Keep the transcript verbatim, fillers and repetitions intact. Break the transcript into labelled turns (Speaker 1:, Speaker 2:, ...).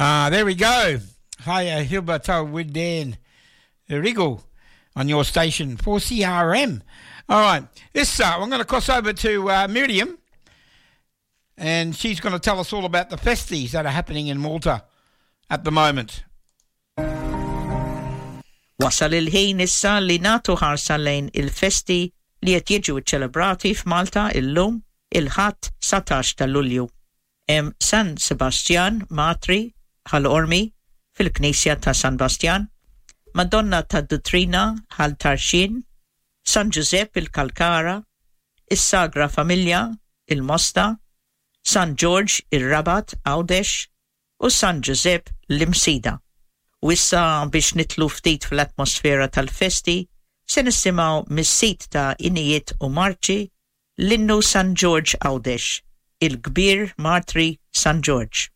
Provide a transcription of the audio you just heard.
Speaker 1: Ah, there we go. Hiya, Hilberto with Dan Wriggle on your station four C R M. All right, this uh, I'm gonna cross over to, uh, Miriam, and she's gonna tell us all about the festies that are happening in Malta at the moment.
Speaker 2: Wasal il-ħin issa li natu ħarsa lejn il-festi li qed jiġu ċċelebrati f'Malta illum il-Ħadd satax ta' Lulju. Hemm San Sebastian Matri Ħal Qormi fil-Knisja ta' San Bastian, Madonna ta' Duttrina Ħal Tarxien, San Giuseppe il-Kalkara, is-Sagra Familja il-Mosta, San George ir-Rabat Għawdex u San Giuseppe l-Imsida. U issa biex nitlu ftit fl-atmosfera tal-festi, se nisimgħu mis-sit ta' Inijiet u Marċi l-innu San George Għawdex, il-kbir Martri San George.